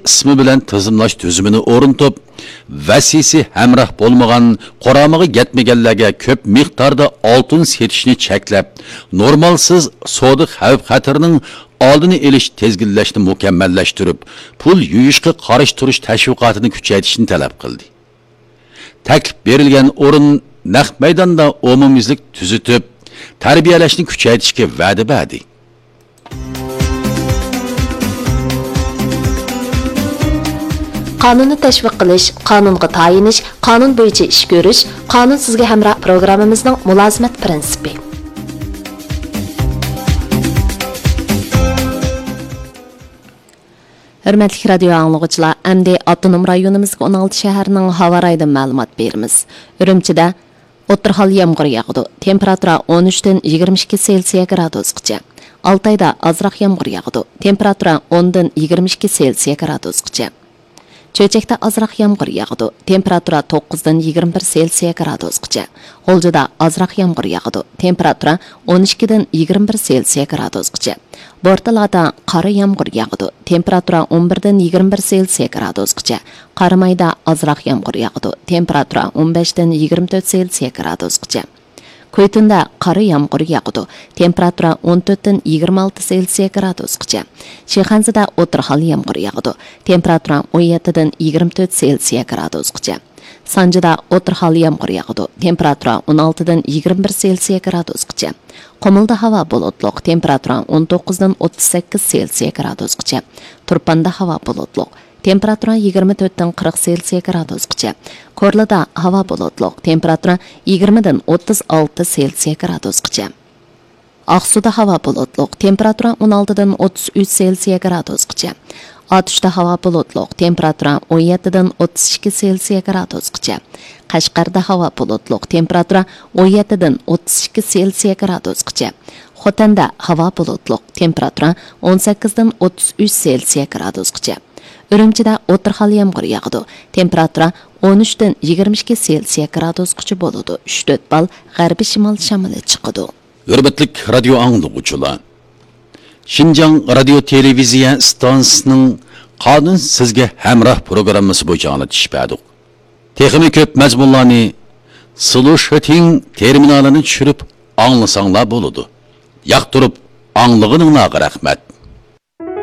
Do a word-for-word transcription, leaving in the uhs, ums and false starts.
قىسمى بىلەن تىزىملاش تۈزۈمىنى ئورنىتىپ، ۋەسىسى ھەمراھ بولمىغان، قۇرامىغا يەتمىگەنلەرگە كۆپ مىقداردا ئالتۇن سېتىشنى چەكلەپ، نورمالسىز سودا خەۋپ-خەتىرىنىڭ ئالدىنى ئېلىش، تىزگىنلەشنى مۇكەممەللەشتۈرۈپ، پۇل يۇيۇشقا قارشى تۇرۇش تەشۋىقاتىنى كۈچەيتىشنى تەلەپ قىلدى. تەكلىپ بېرىلگەن ئورۇن نەق مەيداندا ئومۇميۈزلۈك تۈزىتىپ، تەربىيەلەشنى كۈچەيتىشكە ۋەدە بەردى. قانۇننى تەشۋىق قىلىش، قانۇنغا تايىنىش، قانۇن بويىچە ئىش كۆرۈش، قانۇن سىزگە ھەمراھ پروگراممىمىزنىڭ مۇلازىمەت پىرىنسىپى. ھۆرمەتلىك رادىيو ئاڭلىغۇچىلار، ئەمدى ئاپتونوم رايونىمىزدىكى ئون ئالتە شەھەرنىڭ ھاۋا رايىدىن مەلۇمات بېرىمىز. ئۈرۈمچىدە ئوتتۇرا ھال يامغۇر ياغىدۇ. تېمپېراتۇرا ئون ئۈچتىن يىگىرمە ئىككى سېلسىيە گرادۇسقىچە. ئالتايدا ئازراق يامغۇر ياغىدۇ. تېمپېراتۇرا ئوندىن يىگىرمە ئىككى سېلسىيە گرادۇسقىچە. چۆچەكتە ئازراق يامغۇر ياغىدۇ. تېمپېراتۇرا توققۇزدىن يىگىرمە بىر سېلسىيە گرادۇسقىچە. غۇلجىدا ئازراق يامغۇر ياغىدۇ. تېمپېراتۇرا ئون ئىككىدىن يىگىرمە بىر سېلسىيە گرادۇسقىچە. بورتالادا قارا يامغۇر ياغىدۇ. تېمپېراتۇرا ئون بىردىن يىگىرمە بىر سېلسىيە گرادۇسقىچە. قارامايدا ئازراق يامغۇر ياغىدۇ. تېمپېراتۇرا ئون بەشتىن يىگىرمە تۆت سېلسىيە گرادۇسقىچە. كۈيتۇندا قارا يامغۇر ياغىدۇ. تېمپېراتۇرا ئون تۆتتىن يىگىرمە ئالتە سېلسىيە گرادۇسقىچە. شىخەنزىدە ئوتتۇرا ھال يامغۇر ياغىدۇ. تېمپېراتۇرا ئون يەتتىدىن يىگىرمە تۆت سېلسىيە گرادۇسقىچە. سانجىدا ئوتتۇرا ھال يامغۇر ياغىدۇ. تېمپېراتۇرا ئون ئالتىدىن يىگىرمە بىر سېلسىيە گرادۇسقىچە. قۇمۇلدا ھاۋا بۇلۇتلۇق، تېمپېراتۇرا ئون توققۇزدىن ئوتتۇز سەككىز سېلسىيە گرادۇسقىچە. تۇرپاندا ھاۋا بۇلۇتلۇق، تېمپېراتۇرا يىگىرمە تۆتتىن قىرىق سېلسىيە گرادۇسقىچە. كورلىدا ھاۋا بۇلۇتلۇق، تېمپېراتۇرا يىگىرمىدىن ئوتتۇز ئالتە سېلسىيە گرادۇسقىچە. ئاقسۇدا ھاۋا بۇلۇتلۇق، تېمپېراتۇرا ئون ئالتىدىن ئوتتۇز ئۈچ سېلسىيە گرادۇسقىچە. ئاتۇشتا ھاۋا بۇلۇتلۇق، تېمپېراتۇرا ئون يەتتىدىن ئوتتۇز ئىككى سېلسىيە گرادۇسقىچە. قەشقەردە ھاۋا بۇلۇتلۇق، تېمپېراتۇرا ئون يەتتىدىن ئوتتۇز ئىككى سېلسىيە گرادۇسقىچە. خوتەندە ھاۋا بۇلۇتلۇق، تېمپېراتۇرا ئون سەككىزدىن ئوتتۇز ئۈچ سېلسىيە گرادۇسقىچە. ئۈرۈمچىدە ئوتتۇرا ھال يامغۇر ياغىدۇ، تېمپېراتۇرا ئون ئۈچتىن يىگىرمە ئىككى سېلسىيە گرادۇسقىچە بولىدۇ. ئۈچ تۆت بال غەربىي شىمال شامىلى چىقىدۇ. ھۆرمەتلىك رادىيو ئاڭلىغۇچىلار، شىنجاڭ رادىيو تېلېۋىزىيە ئىستانسىسىنىڭ قانۇن سىزگە ھەمراھ پروگراممىسى بويىچە ئاڭلىتىش بەردۇق. تېخىمۇ كۆپ مەزمۇنلارنى سلۇشىتىڭ تېرمىنالىنى چۈشۈرۈپ ئاڭلىساڭلار بولىدۇ. ياقتۇرۇپ ئاڭلىغىنىڭلارغا رەھمەت.